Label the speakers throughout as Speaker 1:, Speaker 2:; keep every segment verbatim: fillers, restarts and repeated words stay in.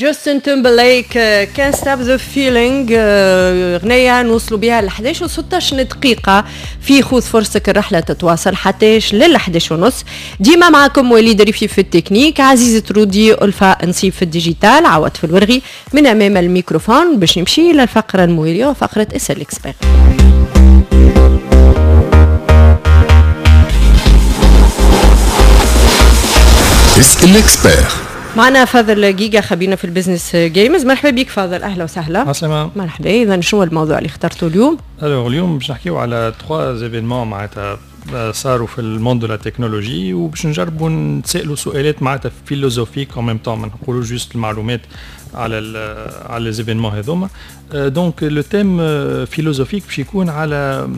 Speaker 1: جاستن تيمبرليك كان ستوب ذا فيلينغ، غنية نوصلوا بها ل إحداش وستاش دقيقة في خذ فرصتك. الرحلة تتواصل حتى لل إحداش ونص. ديما معكم وليد ريفي في التكنيك، عزيزة رودي، ألفا نصيب في ال digital، عوض في الورغي من أمام الميكروفون. باش نمشي للفقرة الموالية وفقرة اسأل expert.
Speaker 2: اسأل expert.
Speaker 1: معنا فاضل جيجا خبيرنا في ال business games. مرحبا بك فاضل، اهلا وسهلا.
Speaker 3: عسلامة.
Speaker 1: مرحبا. اذا شنو الموضوع اللي اخترته اليوم؟
Speaker 3: alors اليوم باش نحكيو على trois événements معناتها صاروا في ال monde de la technologie، وباش نجربوا نتسالوا سؤالات معناتها philosophiques en même temps، ما نقولوا juste المعلومات على على les événements هذوما. donc le thème philosophique باش يكون على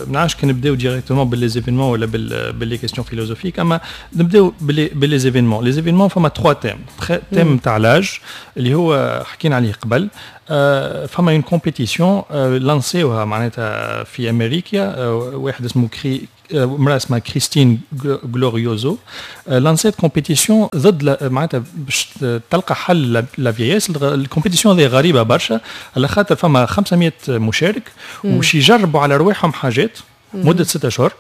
Speaker 3: ما نعرفش كان نبداو directement ب les événements ولا ب les questions philosophiques، اما نبداو ب les événements. les événements فما trois thèmes. thème تاع l'âge اللي هو حكينا عليه قبل، فما une compétition lancé وها معناتها في امريكا، واحد اسمه كري امراة اسمها كريستين غلوريوزو lancé ت compétition ضد معناتها باش تلقى حل la vieillesse. ال compétition هذه غريبة برشا على خاطر فما خمسمية مشارك وباش يجربوا على رواحهم حاجات مده ستة اشهر،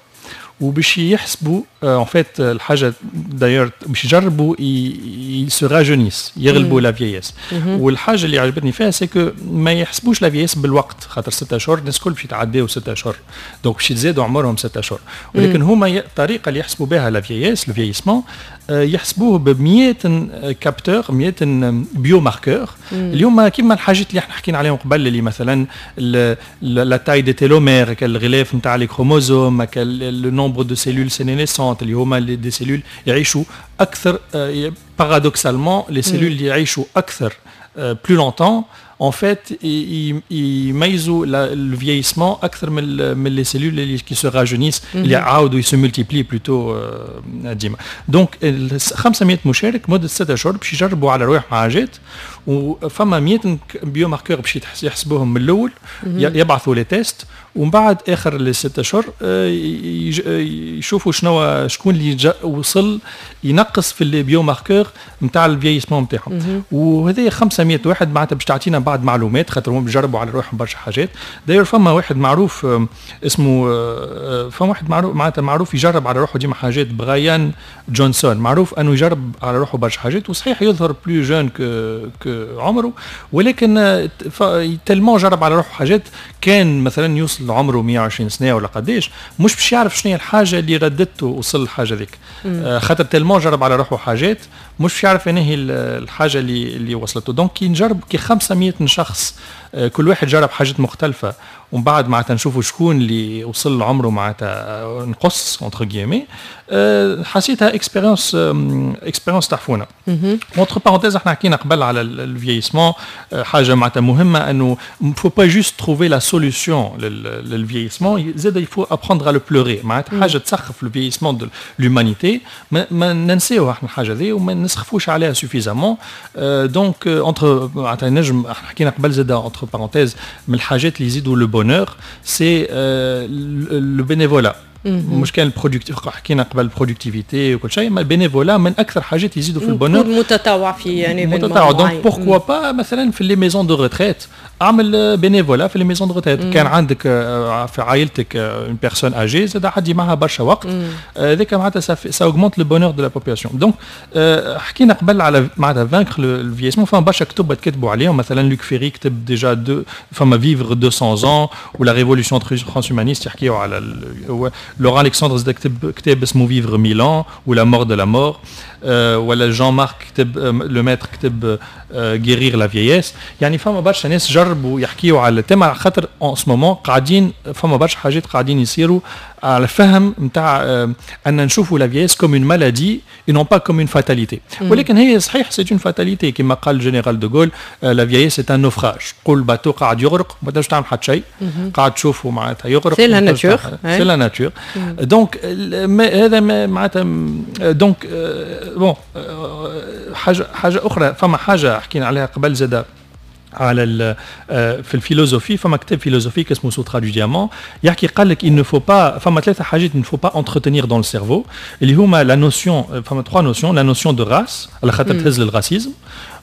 Speaker 3: وباش يحسبوا en fait الحاجة d'ailleurs باش يجربوا se rajeunissent، يغلبوا la vieillesse. والحاجة اللي عجبتني فيها c'est que ما يحسبوش la vieillesse بالوقت، خاطر ستة اشهر الناس الكل باش يتعداو ستة اشهر، donc باش يتزادوا عمرهم ستة اشهر، ولكن هما الطريقة اللي يحسبوا بها la vieillesse le vieillissement يحسبوه ب مية capteurs، مية biomarqueurs اليوم كيما الحاجات اللي احنا حكينا عليهم قبل، اللي مثلا la taille des télomères، الغلاف نتاع les chromosomes، le nombre de cellules sénescentes اللي هما des cellules يعيشوا اكثر. paradoxalement les cellules اللي يعيشوا اكثر plus longtemps en fait يميزوا le vieillissement اكثر من من les cellules اللي qui se rajeunissent، اللي عاودوا se multiplient plutôt ديما. donc خمسمية مشارك مده ستة اشهر باش يجربوا على رواحهم حاجات، وفما مية biomarqueurs باش يحسبوهم من الاول، يبعثوا les tests، ومن بعد اخر les ستة اشهر يشوفوا شنو شكون اللي وصل ينقص في les biomarqueurs نتاع ال vieillissement نتاعهم. وهذه خمسمية واحد معناتها باش تعطينا بعد معلومات، خاطر هم بيجربوا على روحهم برشا حاجات. d'ailleurs فما واحد معروف اسمه، فما واحد معروف معناتها معروف يجرب على روحه ديما حاجات، برايان جونسون، معروف انه يجرب على روحه برشا حاجات، وصحيح يظهر plus jeune que que عمره، ولكن tellement جرب على روحه حاجات، كان مثلا يوصل عمره مية وعشرين سنة ولا قداش مش باش يعرف شنو هي الحاجة اللي ردته وصل الحاجة ذيك، خاطر tellement جرب على روحه حاجات مش باش يعرف هي الحاجة اللي اللي وصلته. donc كي نجرب كي خمسمية شخص كل واحد جرب حاجات مختلفة، ومن بعد معناتها نشوفوا شكون اللي وصل لعمره معناتها نقص entre guillemets، حسيتها expérience expérience تحفونه. entre parenthèses احنا حكينا قبل على ال vieillissement، حاجة معناتها مهمة انه faut pas juste trouver la solution لل vieillissement، زاد il faut apprendre à le pleurer، معناتها حاجة تسخف le vieillissement de l'humanité، ما ننساوها احنا الحاجة ذي وما نسخفوش عليها suffisamment. donc entre معناتها نجم احنا حكينا قبل زاد entre parenthèses من الحاجات اللي يزيدوا le bonheur c'est le bénévolat، مش كان ال productif، حكينا قبل ال productivité وكل شيء، ما ال bénévolat من اكثر حاجات يزيدوا في ال bonheur.
Speaker 1: متطوع في يعني
Speaker 3: متطوع. donc pourquoi pas مثلا في les maisons de retraite اعمل bénévolat في les maisons de retraite، كان عندك في عائلتك une personne âgée زاد عدي معها برشا وقت، هذاك معناتها ça augmente le bonheur de la population. donc حكينا قبل على معناتها vaincre le vieillissement، فما برشا كتب تكتبوا عليهم، مثلا لوك فيري كتب déjà deux، فما vivre deux cents ans و la révolution transhumaniste يحكيو على لوران الكسندر زاد كتب كتاب اسمه vivre mille ans ou la mort de la mort، ولا جون مارك كتب لو ماتر كتب guérir la vieillesse. يعني فما برشا ناس جربوا يحكيوا على ال thème، على خاطر en ce moment قاعدين فما برشا حاجات قاعدين يصيروا على الفهم نتاع ان نشوفوا la vieillesse comme une maladie et non pas comme une fatalité. ولكن هي صحيح c'est une fatalité، كما قال الجنرال دوغول la vieillesse c'est un naufrage، قول bateau قاعد يغرق ما تنجمش تعمل حتى شيء، قاعد تشوفه معناتها يغرق.
Speaker 1: c'est la nature.
Speaker 3: c'est la nature. donc هذا معناتها donc bon حاجة حاجة اخرى، فما حاجة حكينا عليها قبل زاده على في ال philosophie، فما كتاب philosophique اسمه Soutra du diamant، يحكي قال لك il ne faut pas، فما ثلاثة حاجات il ne faut pas entretenir dans le cerveau، اللي هما la notion، فما trois notions: la notion de race، على خاطر تهز لل racisme.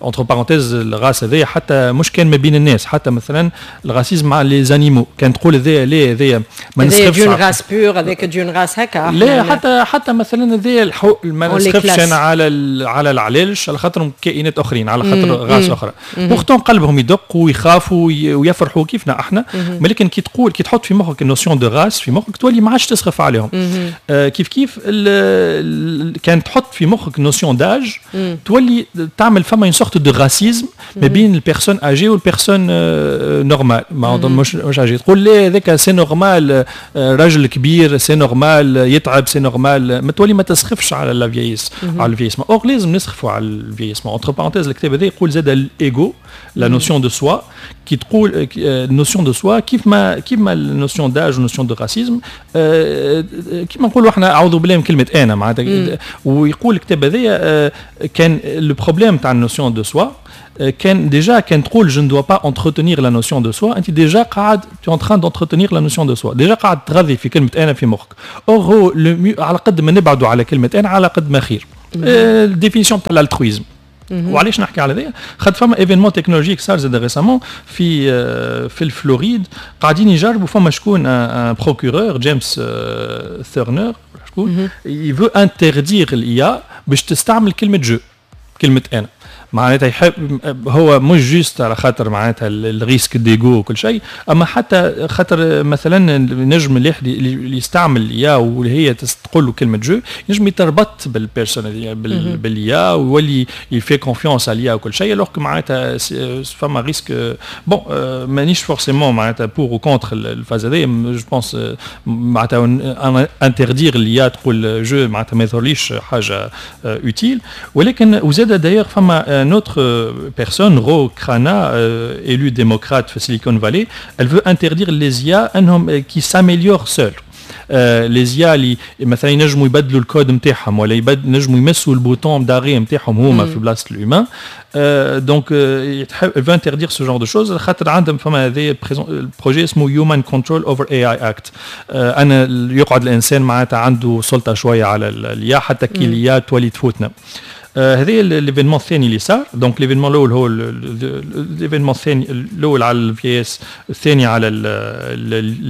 Speaker 3: entre parenthèses، ال race هذايا حتى مش كان ما بين الناس، حتى مثلا ال racisme مع les animaux، كان تقول هذايا لا هذايا
Speaker 1: ما نسخفش d'une race pure، هذاك d'une race هكا.
Speaker 3: لا، حتى حتى مثلا هذايا ما نسخفش انا على على العلالش على خاطرهم كائنات اخرين، على خاطر race اخرى. pourtant قلبهم يدق ويخافوا ويفرحوا كيفنا احنا، ولكن كي تقول، كي تحط في مخك ال notion de race في مخك، تولي ما عادش تسخف عليهم. آه كيف كيف كان تحط في مخك notion d'âge، تولي تعمل فما une sorte de racisme ما بين ال personne âgée وال personne normale، ما مش مش âgée. تقول لا هذاك c'est normal، راجل كبير c'est normal يتعب، c'est normal، ما تولي ما تسخفش على la vieillesse، على ال vieillissement. or لازم نسخفوا على ال vieillissement. entre parenthèses، الكتاب هذا يقول زاد l'ego، la notion de soi، كي تقول notion de soi كيف ما كيف ما ال notion d'âge و notion de racisme، كيما نقولوا احنا اعوذ بالله من كلمة انا معناتها. ويقول الكتاب هذايا كان le problème تاع ال notion de soi كان déjà كان تقول je ne dois pas entretenir la notion de soi، انت déjà قاعد tu es en train d'entretenir la notion de soi، déjà قاعد تغذي في كلمة انا في مخك. or هو على قد ما نبعدوا على كلمة انا على قد ما خير، ال définition تاع l'altruisme. وعلاش نحكي على هذا؟ خاطر فما événement technologique صار زاد récemment في في الفلوريد، قاعدين يجربوا، فما شكون un procureur جيمس ثيرنر، شكون il veut interdire l'IA باش تستعمل كلمة je، كلمة انا. معناتها يحب هو مش juste على خاطر معناتها ال risque d'ego وكل شيء، اما حتى خاطر مثلا نجم اللي يستعمل l'IA واللي هي تقول له كلمة je، ينجم يتربط بال personne بال IA ويولي il fait confiance à l'IA وكل شيء، alors معناتها فما risque. bon، مانيش forcément معناتها pour ou contre الفاز هذايا. je pense معناتها interdire l'IA تقول je معناتها ما يظهرليش حاجة utile. ولكن وزاد d'ailleurs فما une autre personne, Ro Khanna, euh, élue démocrate de Silicon Valley, elle veut interdire les I A qui s'améliorent seuls. les IA اللي مثلا ينجموا يبدلوا الكود نتاعهم ولا ينجموا يمسوا ال bouton d'arrêt نتاعهم هما في بلاصة l'humain، donc يتحب veut interdire ce genre de choses، خاطر عندهم فما هذا ال projet اسمه Human Control over AI Act، انا يقعد الانسان معناتها عنده سلطة شوية على l'IA حتى كي l'IA تولي تفوتنا. هذا l'événement الثاني اللي صار. donc l'événement الاول هو l'événement الثاني، الاول على ال vieillesse، الثاني على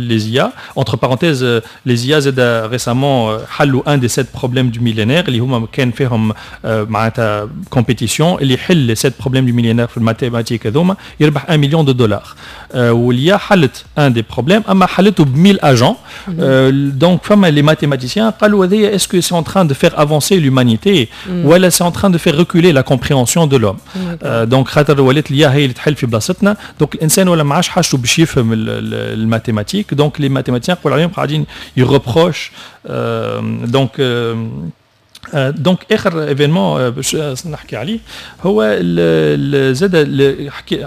Speaker 3: les IA. entre parenthèses، les IA زاد récemment حلوا un des sept problèmes du millénaire، اللي هما كان فيهم معناتها compétition، اللي يحل les sept problèmes du millénaire في ال mathématiques هذوما يربح un million de dollars. و l'IA حلت un des problèmes، اما حلته ب mille agents. donc فما les mathématiciens قالوا هذايا est-ce que c'est en train de faire avancer l'humanité ولا c'est en train de faire reculer la compréhension de l'homme؟ donc خاطر ولات l'IA هي اللي تحل في بلاصتنا، donc الانسان ولا ما عادش حاجته باش يفهم ال mathématiques. donc les mathématiciens يقول عليهم قاعدين ils reprochent. donc donc اخر événement باش نحكي عليه هو زاد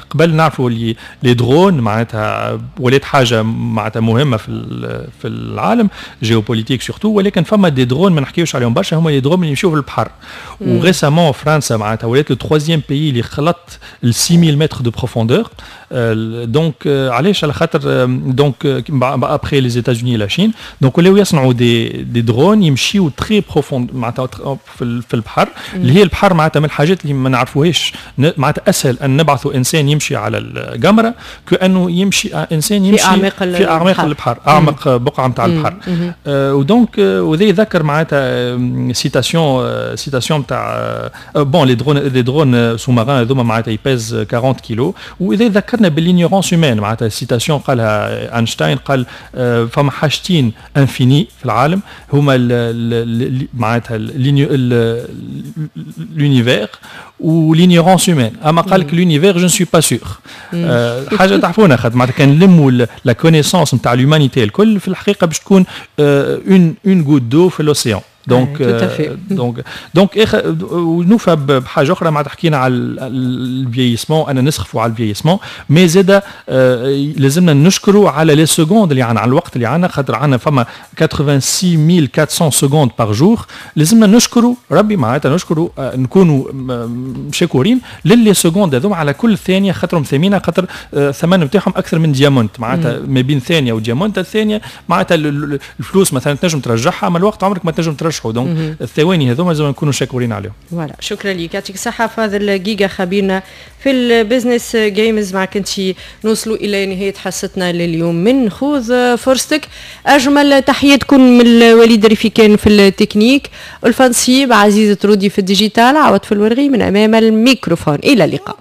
Speaker 3: قبل نعرفوا اللي les drones معناتها ولات حاجة معناتها مهمة في في العالم géopolitique surtout، ولكن فما des drones ما نحكيوش عليهم برشا، هما les drones اللي يمشيو في البحر. و récemment فرنسا معناتها ولات le troisième pays اللي خلط ال six mille mètres de profondeur. donc علاش؟ على خاطر donc après les États-Unis، la Chine، donc ولاو يصنعوا des des drones يمشيو très profond معناتها في البحر، اللي هي البحر معناتها من الحاجات اللي ما نعرفوهاش. معناتها اسهل ان نبعثوا انسان يمشي على القمره كانه يمشي انسان يمشي
Speaker 1: في اعماق
Speaker 3: في اعماق البحر، اعمق بقعة نتاع البحر. آه و donc وذا يذكر معناتها citation citation نتاع bon les drones les drones sous-marins هذوما معناتها ils pèsent quarante كيلو. واذا ذكرنا بال l'ignorance humaine، معناتها citation قالها اينشتاين، قال فما حاجتين infinies في العالم، هما معناتها l'univers و l'ignorance humaine. اما قال لك l'univers je ne suis pas sûr. حاجة تعرفونا، خاطر معناتها كان نلموا la connaissance نتاع l'humanité الكل، في الحقيقة باش تكون une une goutte d'eau في l'océan. donc donc donc ونوفى بحاجة اخرى، معناتها حكينا على ال vieillissement، انا نسخفوا على ال vieillissement، mais زاد لازمنا نشكروا على les secondes اللي عندنا، على الوقت اللي عندنا، خاطر عندنا فما ستة وثمانين ألف وأربعمية secondes par jour. لازمنا نشكروا ربي، معناتها نشكروا، نكونوا شكورين ل les secondes هذوما على كل ثانيه، خاطرهم ثمينه، خاطر الثمن نتاعهم اكثر من diamant. معناتها ما بين ثانية و diamant، الثانية معناتها الفلوس مثلا تنجم ترجعها، اما الوقت عمرك ما تنجم ترجعه. donc الثواني هذوما لازم نكونوا شاكورين عليهم.
Speaker 1: voilà، شكرا لك، يعطيك الصحة فاضل جيجا، خبيرنا في ال business games. معك انت نوصلوا الى نهاية حصتنا لليوم من خذ فرصتك. اجمل تحية تكون من وليد رفيكان في التكنيك، الفنسيب عزيز ترودي في ال digital، عوض في الورغي من امام الميكروفون. الى اللقاء.